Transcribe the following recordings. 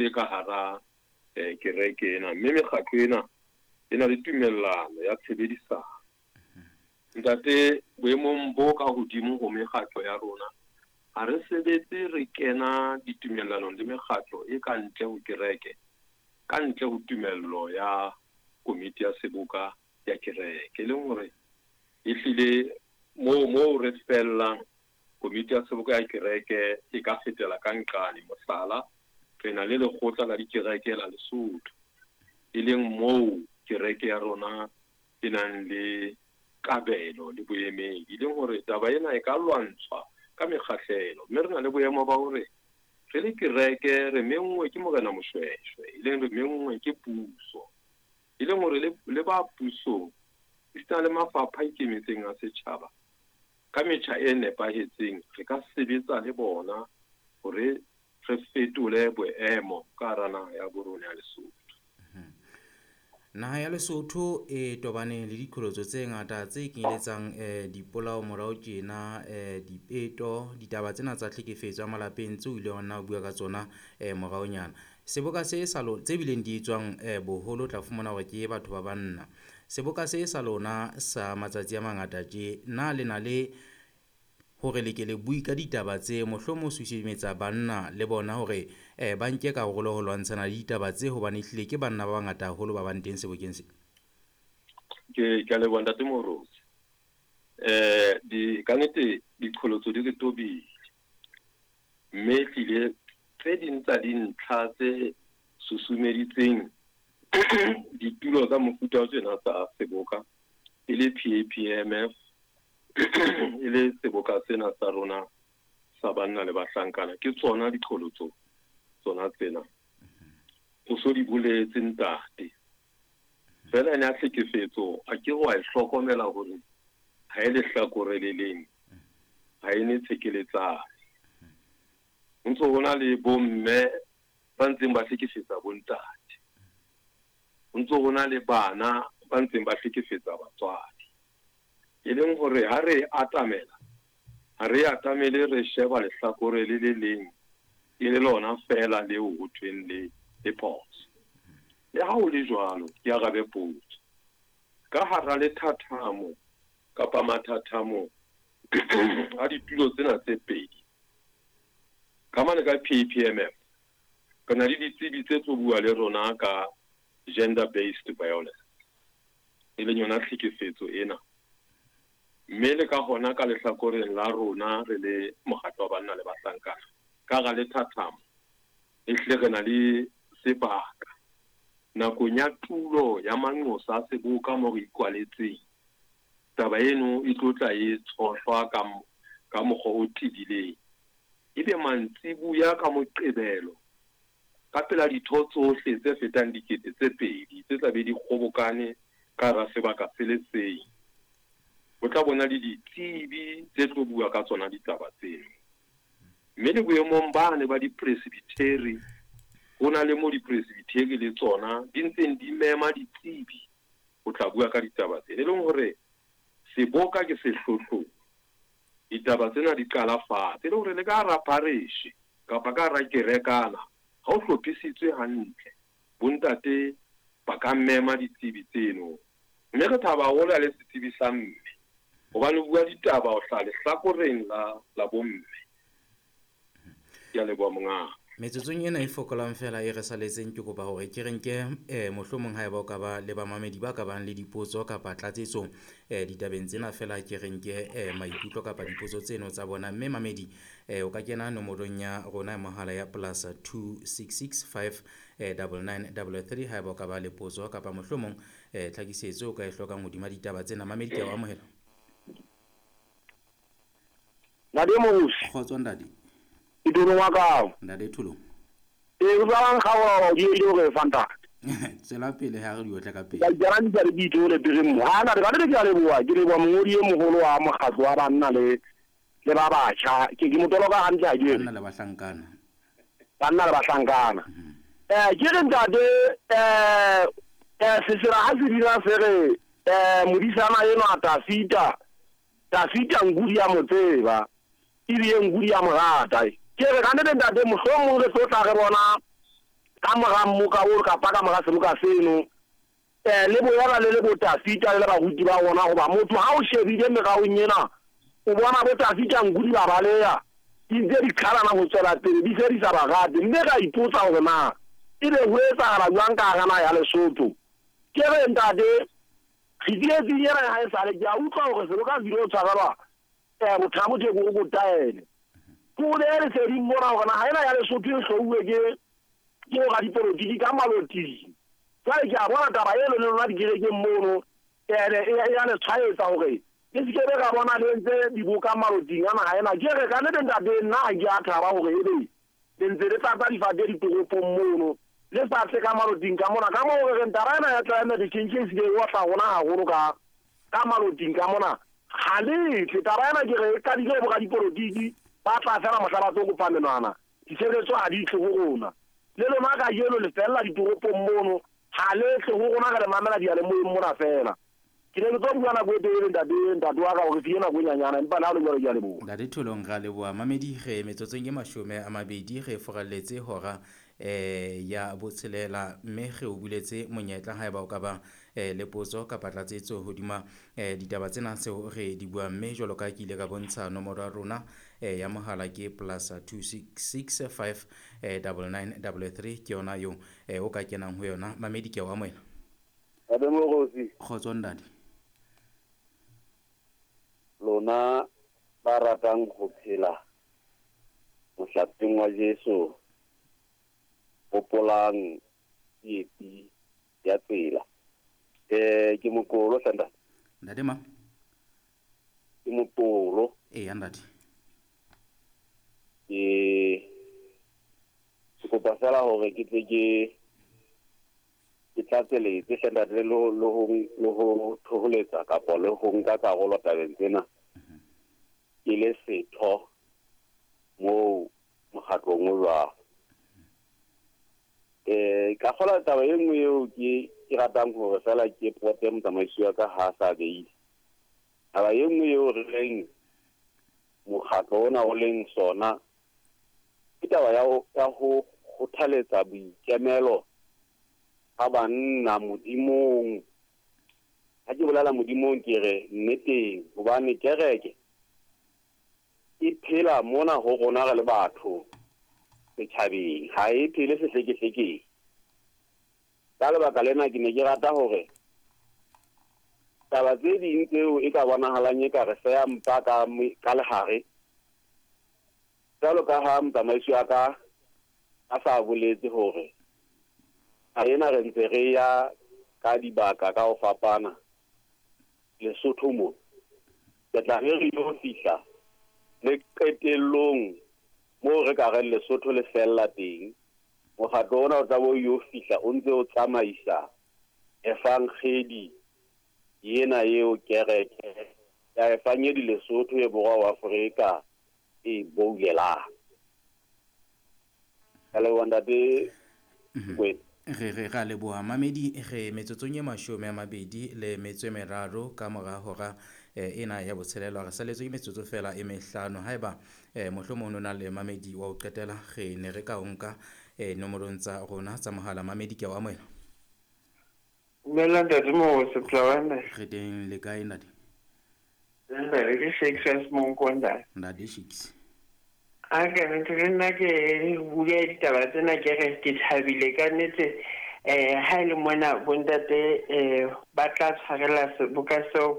tse ka hara kereke ena, mme mekgatlo ena e na le tumellano ya tshebedisano. Ntate, boemong bo ka hodimo ho mekgatlo ya rona, ha re sebetse re kena ditumellanong le mekgatlo e ka ntle ho kereke, ka ntle ho tumello ya komiti ya seboka ya kereke. E leng hore ehlile moo moo re fellang, komiti ya seboka ya kereke e ka fetela ka nqane. Mohlala, re na le lekgotla la dikereke la Lesotho, e leng moo kereke ya rona e nang le kabelo le boemedi, e leng hore taba ena e ka lwantshwa ka mekgahlelo. Mme re na le boemo ba hore re le kereke re menngwe ke Morena Moshweshwe, e leng re menngwe ke puso, e leng hore le ba pusong esita le mafapha a ikemetseng a setjhaba, ka metjha e nepahetseng re ka sebetsa le bona hore re fetole boemo ka hara naha ya bo rona ya Lesotho. Naha ya Lesotho e tobane le diqholotso tse ngata tse kenyeletsang dipolao morao tjena, dipeto, ditaba tsena tsa tlhekefetso ya malapeng tseo o ileng wa nna o bua ka tsona moraonyana. Seboka se sa lona tse bileng di etswang boholo o tla fumana hore ke batho ba banna. Seboka se sa lona sa matsatsi a mangata tje, na le na le hore le ke le bue ka ditaba tse, mohlomong susumetsa banna le bona hore ba nke karolo ho lwantshana le ditaba tse, hobane ehlile ke banna ba bangata haholo ba bang teng sebokeng se? Ke a leboha Ntate Moruti. Di ka nnete diqholotso di re tobile, mme ehlile tse ding tsa dintlha tse susumeditseng ditulo tsa mofuta o tjena tsa seboka e le PAPMF, e le seboka sena sa rona sa banna le bahlankana, ke tsona diqholotso tsona tsena. O so di boletse ntate. Feela ene ya tlhekefetso a ke wa e hlokomela hore ha e lehlakore le leng, ha e ne tshekeletsane. Ho ntso ho na le bomme ba ntseng ba hlekefetsa bontate. Ho ntso ho na le bana ba ntseng ba hlekefetsa batswadi. E leng hore ha re atamela, ha re atamele re sheba lehlakore le le leng e le lona feela leo ho thweng le le phoso. Le ha ho le jwalo, ke arabe potso. Ka hara lethathamo kapa mathathamo a ditulo tsena tse pedi, ka mane ka PAPMF, re na le ditsebi tse tlo bua le rona ka gender based violence, e leng yona tlhekefetso ena. Mme le ka hona ka lehlakoreng la rona re le mokgatlo wa banna le bahlankana, ka hara lethathamo ehlile re na le sebaka nakong ya tulo ya manqosa a seboka mo re ikwaletseng. Taba eno e tlo tla e tshohlwa ka mokgwa o tebileng. Ebe mantsibuya ka Moqebelo ka pela ditho tsohle tse fetang 2000 tse tla be di kgobokane ka hara sebaka se le seng, ho tla bona le ditsebi tse tlo bua ka tsona ditaba tseno. Mme le boemong bane ba dipresbitheri, ho na le mo dipresbitheri le tsona di ntseng di mema ditsebi ho tla bua ka ditaba tsena. E leng hore seboka ke sehlohlolo, ditaba tsena di qala fatshe. E leng hore le ka hara parish kapa ka hara kerekana, ha o hlophisitswe hantle, bontate ba ka mema ditsebi tseno. Mme re thaba haholo ha le setsebi sa mme, hobane o bua ditaba ho hlaha lehlakoreng la bomme. Ke a leboha mongaka. Metsotsong ena e fokolang fela e re saletseng, ke kopa hore ke re nke mohlomong haeba o ka ba le bamamedi ba ka bang le dipotso kapa tlatsetso ditabeng tsena fela, ke re nke maikutlo kapa dipotso tseno tsa bona. Mme mamedi, o ka kena nomorong ya rona ya mohala ya plus two six six five double nine double three haeba o ka ba le potso kapa mohlomong tlhakisetso o ka e hlokang hodima ditaba tsena. Mamedi, ke a o amohela. Ntate Morusi. Kgotso ntate. Ke Thulong wa kao. Ntate Thulong. Ee, o tswang kgaola o di ile hore fa ntate. Tswela pele ha re di otla ka pele. Ka itjara di ke itole pele mo. Ha ntate ka ke a leboha, ke leboha mongodi e moholo wa mokgatlo wa banna le ba batjha. Ke motolo ka hantle ha ke re. Banna le bahlankana. Banna le bahlankana. Ke re ntate, sesela ha se dira se re, modisana enwa Tafita, Tafita nkudi ya mo tseba, ebile nkudi ya mo rata. Ke re ka nnete ntate, mohlomong re tlo tla re bona Ka mora mmoka o kapa ka mora seboka seno, le boela le le botafita le baruti ba rona, hoba motho ha o shebile meraong ena o bona botafita nku di ba baleha, di ntse di qhalana ho tswela pele, di se di sa ba rate. Mme ra ipotsa hore na ebe ho etsahala jwang ka hara naha ya Lesotho. Ke re ntate, re tsietsing ena ha esale ke a utlwa hore seboka se ile ho tshwarelwa Bothabo Theko ko taele. Ke o behe leseding mona hore naha ena ya Lesotho e hlouwe ke boradipolotiki ka maloting. Jwale ke a bona taba eno le lona dikerekeng mono, e ya le tshwaetsa hore le se ke be ra bona le entse diboka maloting a naha ena. Ke re ka nnete ntate, nna ha ke a thaba hore ebe le ntse le tlatsa difate ditoropong mono, le sa tle ka maloting ka mona. Ka moo re reng taba ena ya climate change e se ke e otla rona haholo ka maloting ka mona. Ha le tle taba ena, ke re e qadile ho boradipolotiki, ba tla fela mohla ba tlo kopa menwana, ditshebeletso ha di tle ho rona. Le lona kajeno le fella ditoropong mono, ha le tle ho rona, re le mamela diyalemoyeng mona fela. Ke ne ke tlo bua nako e telele ntate wa ka hore fie nako e nyanyana, empa le ha le jwalo ke a leboha. Ntate Tholong, ra leboha. Mamedi, re metsotsong e 20 re foralletse hora ya botshelela, mme re o buletse monyetla haeba o ka ba le potso kapa tlatsetso hodima ditaba tsena tseo re di buang. Mme jwalo ka ke ile ka bontsha nomoro ya rona ya mohala ke +266 5 99 33, ke yona eo o ka kenang ho yona. Mamedi, ke a o amohela. Ntate Morosi. Kgotso ntate. Lona ba ratang ho phela mohlapeng wa Jesu, hopolang tsietsi ya tsela. Ke mokolo hle ntate. Ntate ma? Ke mokolo. Eya ntate. Ke kopa fela hore ke tle ke tlatseletse hle ntate, le ho thoholetsa kapa le ho nka karolo tabeng tsena. Ke le setho moo mokgatlong o jwalo. Ka kgola taba e nngwe eo ke ratang hore fela ke pote motsamaisi wa ka ha sa beile. Taba e nngwe eo re leng mokgatlo ona o leng sona ke taba ya ho kgothaletsa boikemelo ha banna Modimong. Ha ke bolela Modimong ke re nneteng, hobane kereke e phela mona ho rona re le batho setjhabeng, ha e phele sehlekehlekeng. Ka lebaka lena ke ne ke rata hore taba tse ding tseo e ka bonahalang e ka re feya mpa ka lehare, jwalo ka ha motsamaisi wa ka a sa boletse hore ha ena re ntse re ya ka dibaka ka ho fapana Lesotho mo, ke tla re re yo fihla le qetellong moo re ka reng Lesotho le fella teng. Mokgatlo ona o tla bo yo fihla o ntse o tsamaisa evangedi ena eo kereke ya evangedi Lesotho e borwa wa Afrika e boulelang. Ka leboha ntate Kwena. Re ra leboha mamedi. Re metsotsong e 23 ka mora hora ena ya botshelela. Re saletswe ke metsotso fela e mehlano. Haeba mohlomong o na le mamedi wa ho qetela, re ne re ka o nka nomorong tsa rona tsa mohala. Mamedi, ke a o amohela. Dumela ntate Morosi, Tlawane. Re teng, le kae ntate? Ntate ke Shakes Monko ntate. Ntate Shakes. A ke ntse nna ke bua ditaba tsena, ke re ke thabile ka nnete. Ha ile mona bontate ba tla tshwarela seboka seo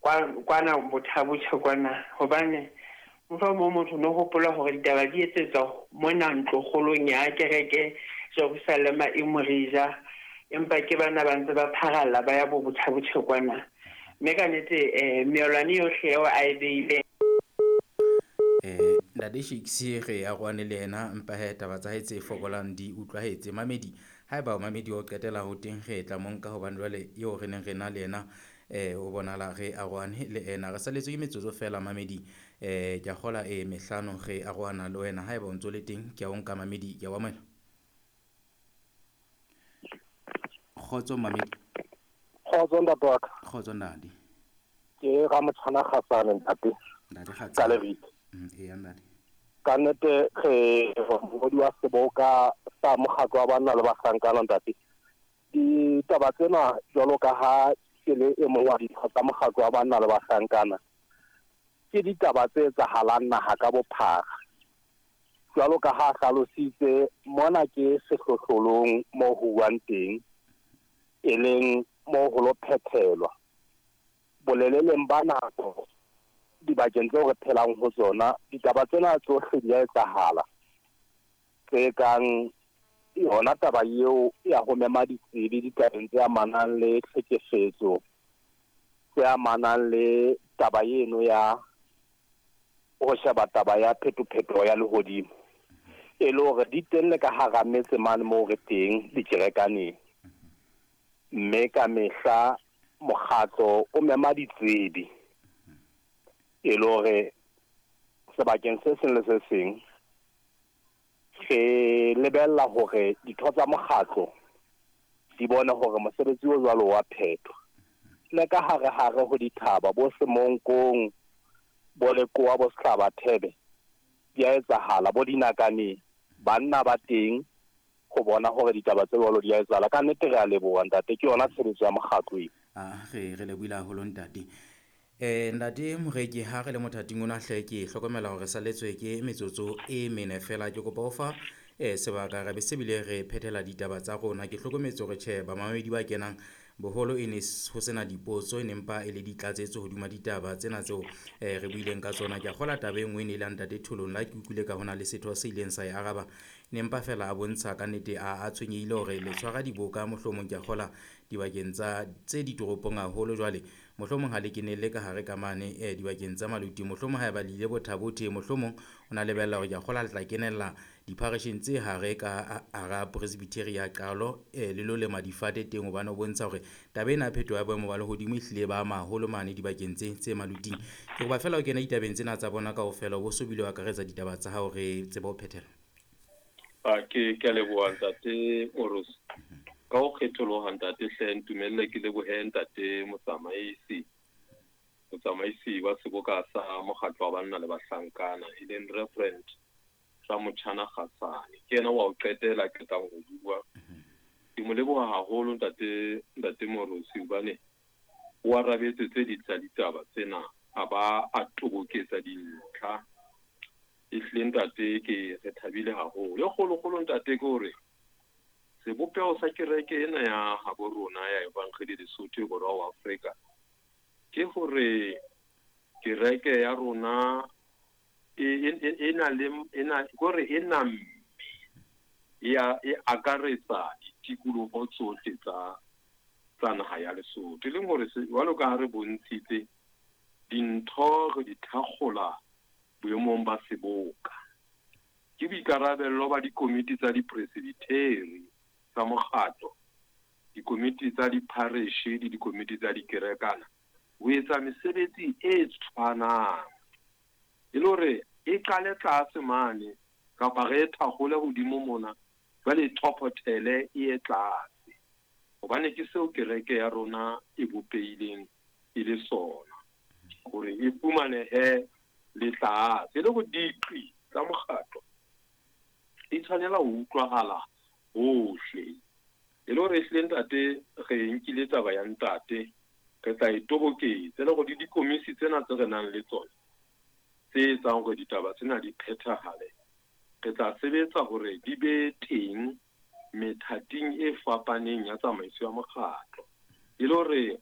kwana Bothabo kwana, hobane mohlomong motho no hopola hore ditaba di etsetswa mona ntlokgolong ya kereke Jerusalema e Morija, empa ke bana ba ntse ba pharalla ba ya bo Bothabo kwana. Mme ka nnete meolwane yohle eo a e beile. Ntate Shakes re aroane le yena, mpa he taba tsa hae tse fokolang di utlwahetse. Mamedi, haeba mamedi o qetela ho teng, re tla mo nka hobane jwale eo re neng re na le yena o bonala re aroane le ena. Re saletswe ke metsotso fela mamedi, ke a kgola e mehlano re aroana le wena. Haeba o ntso le teng, ke a o nka mamedi, ke a o amohela. Kgotso mamedi. Kgotso ntate wa ka. Kgotso ntate. Ke Ramotshwana Kgatsane ntate. Ntate Kgatsane. Ka lebitso. Eya ntate. Ka nnete re mongodi wa seboka sa mokgatlo wa banna le bahlankana ntate. Ditaba tsena jwalo ka ha ke le e mong wa ditho tsa mokgatlo wa banna le bahlankana, ke ditaba tse etsahalang naha ka bophara. Jwalo ka ha hlalositse mona ke sehlohlolong moo ho buang teng, e leng moo ho lo phethelwa. Boleleleng ba nako dibakeng tseo re phelang ho tsona, ditaba tsena tsohle di a etsahala. Tse kang yona taba eo ya ho mema ditsebi ditabeng tse amanang le tlhekefetso, tse amanang le taba eno ya ho sheba taba ya phetophetoho ya lehodimo. E le hore di teng le ka hara metse mane moo re teng dikerekaneng. Mme ka mehla mokgatlo o mema ditsebi e le hore sebakeng se seng le se seng re lebella hore ditho tsa mokgatlo di bone hore mosebetsi o jwalo wa phethwa. Le ka hare hare ho dithaba bo Semonkong, bo Lekoa, bo Sehlabathebe, di a etsahala, bo dinakaneng, banna ba teng ho bona hore ditaba tse jwalo di a etsahala. Ka nnete re a leboha ntate, ke yona tshebetso ya mokgatlo eo. Re lebohile haholo ntate. Ntate Moreki, ha re le mothating ona hle ke hlokomela hore saletswe ke metsotso e mene fela. Ke kopa ho fa sebaka re be se bile re phethela ditaba tsa rona. Ke hlokometse hore tjhe bamamedi ba kenang boholo e ne ho sena dipotso, e nempa e le ditlatsetso hodima ditaba tsena tseo re buileng ka tsona. Ke a kgola taba e nngwe e ne e le ntate Tholong, la ke utlwile ka hona le setho se ileng sa e araba, nempa fela a bontsha ka nnete a tshwenyehile hore le tshwara diboka mohlomong ke a kgola dibakeng tsa tse ditoropong haholo. Jwale mohlomong ha le kenelle ka hare ka mane dibakeng tsa maluti, mohlomong ha eba le ile Bothabothe, mohlomong o na lebella hore ke a kgola le tla kenella dipharesheng tse hare ka hara Presbytery ya Qalo le lo lema difate teng, hobane o bontsha hore taba ena ya phetoho ya boemo ba lehodimo e hlile ba maholo mane dibakeng tse maluting. Ke kopa fela o kena ditabeng tsena tsa bona kaofela, o bo so bile o akaretsa ditaba tsa hao re tsebe ho phethela. Ke a leboha ntate Morusi. Ka ho kgetholoha ntate hle, ntumelle ke lebohe ntate motsamaisi wa seboka sa mokgatlo wa banna le bahlankana, e leng Reverend Ramotjhana Kgasane. Ke yena wa ho qetela qetang ho bua. Ke mo leboha haholo ntate Morusi, hobane o arabetse tse ding tsa ditaba tsena, a ba a toboketsa dintlha. Ehlile ntate ke re thabile haholo. E kgolokgolo ntate ke hore sebopeho sa kereke ena ya habo rona ya Evangeli Lesotho Borwa wa Afrika ke hore kereke ya rona e na le kore e namme e akaretsa ditikoloho tsohle tsa naha ya Lesotho. E leng hore jwalo ka ha re bontshitse dintho re di thakgola boemong ba seboka. Ke boikarabello ba dikomiti tsa dipresbiteri tsa mokgatlo, dikomiti tsa diphareshe le dikomiti tsa dikerekana ho etsa mesebetsi e tshwanang. E le hore e qale tlase mane kapa re e thakgole hodimo mona, jwale e thophothele e ye tlase. Hobane ke seo kereke ya rona e bopehileng e le sona, hore e fumanehe le tlase. E le hore diqi tsa mokgatlo di tshwanela ho utlwahala hohle. E le hore ehlile ntate re nkile taba ya ntate, re tla e toboketsa. E le hore dikomisi tsena tse re nang le tsona tse etsang hore ditaba tsena di phethahale, re tla sebetsa hore di be teng methating e fapaneng ya tsamaiso ya mokgatlo. E le hore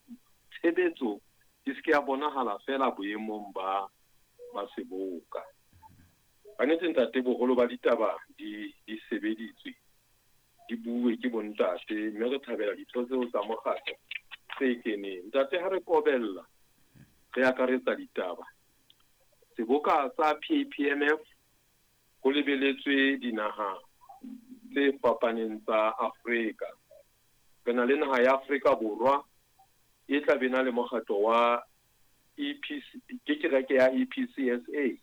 tshebetso e se ke ya bonahala fela boemong ba seboka. Ka nnete ntate, boholo ba ditaba di sebeditswe, di bue ke bontate, mme re thabela ditho tseo tsa mokgatlo tse keneng. Ntate, ha re kobella re akaretsa ditaba, seboka sa PPMF ho lebeletswe dinaha tse fapaneng tsa Afrika. Re na le naha ya Afrika Borwa e tla be na le mokgatlo wa EPC, ke kereke ya EPCSA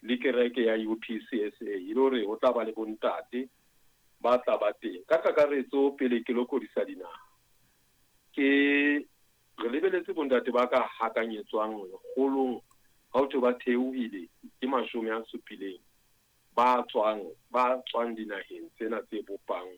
le kereke ya UPCSA. E le hore ho tla ba le bontate ba tla ba teng. Ka kakaretso pele ke lokodisa dinaha, ke re lebeletse bontate ba ka hakanyetswang lekgolong, ha ho thwe ba theohile ke 70. Ba tswang ba tswang dinaheng tsena tse bopang